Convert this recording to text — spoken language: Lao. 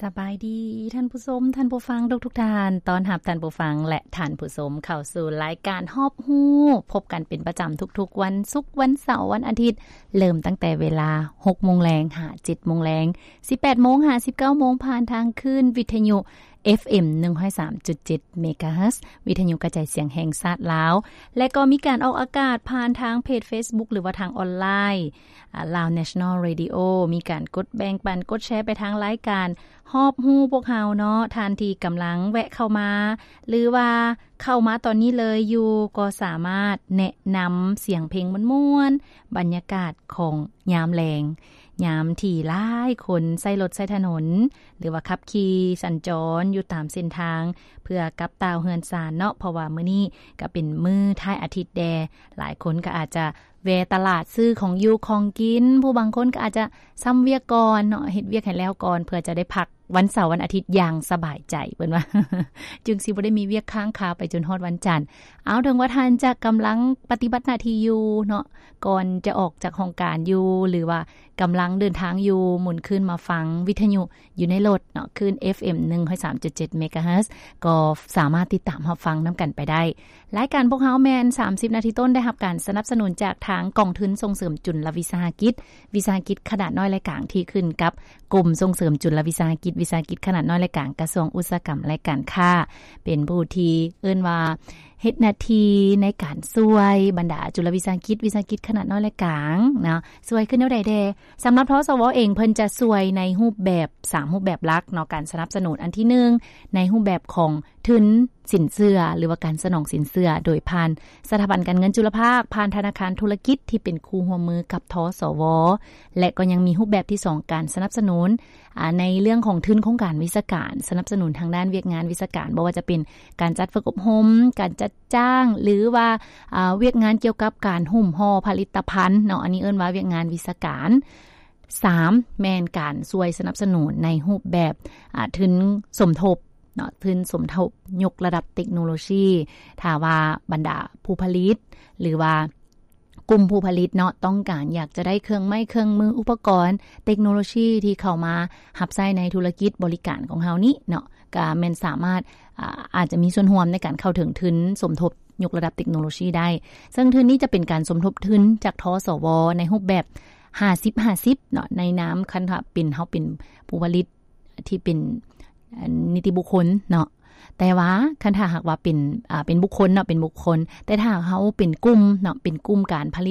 ສະບາຍດີທ່ານຜູ້ຊົມ, ທ່ານຜູ້ຟັງທຸກໆທ່ານ. ຕ້ອນຮັບທ່ານຜູ້ຟັງ ແລະ ທ່ານຜູ້ຊົມເຂົ້າສູ່ລາຍການຮອບຮູ້, ພົບກັນເປັນປະຈຳທຸກໆວັນສຸກ, ວັນເສົາ, ວັນອາທິດ, ເລີ່ມຕັ້ງແຕ່ເວລາຫົກໂມງແລງຫາເຈັດໂມງແລງ, ສິບແປດໂມງຫາສິບເກົ້າໂມງ, ຜ່ານທາງຄື້ນວິທະຍຸ ເອັຟເອັມ ໜຶ່ງຮ້ອຍສາມຈຸດເຈັດເມກາເຮີດ, ວິທະຍຸກະຈາຍສຽງແຫ່ງຊາດລາວ, ແລະ ກໍມີການອອກອາກາດຜ່ານທາງເພຈເຟສບຸກ ຫຼືວ່າທາງອອນລາຍ ອາ Lao National Radio. ມີການກົດແບ່ງປັນ, ກົດແຊໄປທາງລາຍການຮອບຮູ້ພວກເຮົາເນາະ. ທ່ານທີ່ກຳລັງແວະເຂົ້າມາ ຫຼືວ່າເຂົ້າມາຕອນນີ້ເລີຍຢູ່ ກໍສາມາດແນະນຳສຽງເພງມ່ວນໆ, ບັນຍາກາດຂອງຍາມແລງ, ຍາມທີ່ຫຼາຍຄົນໃຊ້ລົດໃຊ້ຖະໜົນ ຫຼືວ່າຂັບຂີ່ສັນຈອນຢູ່ຕາມເສັ້ນທາງ ເພື່ອກັບຕ່າວເຮືອນຊານເນາະ, ເພາະວ່າມື້ນີ້ກໍເປັນມື້ທ້າຍອາທິດແດ່. ຫຼາຍຄົນກໍອາດຈະແວ່ຕະຫຼາດຊື້ຂອງຢູ່ຂອງກິນ, ຜູ້ບາງຄົນກໍອາດຈະຊຳວຽກກ່ອນເນາະ, ເຮັດວຽກໃຫ້ແລ້ວກ່ອນ ເພື່ອຈະໄດ້ພັກວັນເສົາວັນອາທິດຢ່າງສະບາຍໃຈ, ເພິ່ນວ່າ ຈຶ່ງຊິບໍ່ໄດ້ມີວຽກຄ້າງຄາໄປຈົນຮອດວັນຈັນ. ເອົາ ເຖິງວ່າທ່ານຈະກຳລັງປະຕິບັດໜ້າທີ່ຢູ່ເນາະ, ກ່ອນຈະອອກຈາກຫ້ອງການຢູ່ ຫຼືວ່າກຳລັງເດີນທາງຢູ່, ໝູນຄື້ນມາຟັງວິທະຍຸຢູ່ໃນລົດເນາະ, ຄື້ນ ເອັຟເອັມ ໜຶ່ງຮ້ອຍສາມຈຸດເຈັດເມກາເຮີດ ກໍສາມາດຕິດຕາມຮັບຟັງນຳກັນໄປໄດ້. ລາຍການພວກເຮົາແມ່ນສາມສິບນາທີຕົ້ນ ໄດ້ຮັບການສະໜັບສະໜູນຈາກທາງກອງທຶນສົ່ງເສີມຈຸນລະວິສາຫະກິດ, ວິສາຫະກິດຂະໜາດນ້ອຍ ແລະ ກາງ ທີ່ຂຶ້ນກັບກົມສົ່ງເສີມຈຸນລະວິສາຫະກິດ, ວິສາຫະກິດຂະໜາດນ້ອຍ ແລະ ກາງ ກະຊວງອຸດສາຫະກຳ ແລະ ການຄ້າ. ເປັນຜູ້ທີ່ເອີ້ນວ່າເຮັດໜ້າທີ່ໃນການຊ່ວຍບັນດາຈຸນລະວິສາຫະກິດ, ວິສາຫະກິດຂະໜາດນ້ອຍ ແລະ ກາງເນາະ, ຊ່ວຍຄືແນວໃດແດ່? ສຳລັບ ທສວ ເອງ ເພິ່ນຈະຊ່ວຍໃນຮູບແບບ ສາມຮູບແບບຫຼັກເນາະ, ການສະໜັບສະໜູນອັນທີໜຶ່ງ ໃນຮູບແບບຂອງທຶນສິນເຊື່ອ ຫຼືວ່າການສະໜອງສິນເຊື່ອ ໂດຍຜ່ານສະຖາບັນການເງິນຈຸລະພາກ, ຜ່ານທະນາຄານທຸລະກິດທີ່ເປັນຄູ່ຮ່ວມມືກັບ ທສວ ແລະ ກໍຍັງມີຮູບແບບທີສອງ ການສະໜັບສະໜູນ ອາ ໃນເລື່ອງຂອງທຶນໂຄງການວິຊາການ, ສະໜັບສະໜູນທາງດ້ານວຽກງານວິຊາການ, ບໍ່ວ່າຈະເປັນການຈັດຝຶກອົບຮົມ, ການຈັດຈ້າງ ຫຼືວ່າ ອາ ວຽກງານກ່ຽວກັບການຫຸ້ມຫໍ່ຜະລິດຕະພັນເນາະ, ອັນນີ້ເອີ້ນວ່າວຽກງານວິຊາການ. ສາມ ແມ່ນການຊ່ວຍສະໜັບສະໜູນໃນຮູບແບບ ອາ ທຶນສົມທົບເນາະ, ທຶນສົມທົບຍົກລະດັບເຕັກໂນໂລຊີ. ຖ້າວ່າບັນດາຜູ້ຜະລິດ ຫຼືວ່າກຸ່ມຜູ້ຜະລິດເນາະ ຕ້ອງການຢາກຈະໄດ້ເຄື່ອງໄມ້ເຄື່ອງມື ອຸປະກອນເຕັກໂນໂລຊີທີ່ເຂົ້າມາຮັບໃຊ້ໃນທຸລະກິດບໍລິການຂອງເຮົານີ້ເນາະ, ກະແມ່ນສາມາດ ອາ ອາດຈະມີສ່ວນຮ່ວມໃນການເຂົ້າເຖິງທຶນສົມທົບຍົກລະດັບເຕັກໂນໂລຊີໄດ້. ເຊິ່ງທຶນນີ້ຈະເປັນການສົມທົບທຶນຈາກ ທສວ ໃນຮູບແບບຫ້າສິບຫ້າສິບເນາະ, ໃນນາມຄັນຖ້າເປັນ ເຮົາເປັນຜູ້ຜະລິດທີ່ເປັນ ອາ ນິຕິບຸກຄົນເນາະ. ແຕ່ວ່າຄັນຖ້າຫາກວ່າເປັນ ອາ ເປັນບຸກຄົນເນາະ, ເປັນບຸກຄົນ, ແຕ່ຖ້າເຮົາເປັນກຸ່ມເນາະ, ເປັນກຸ່ມການຜະລິດ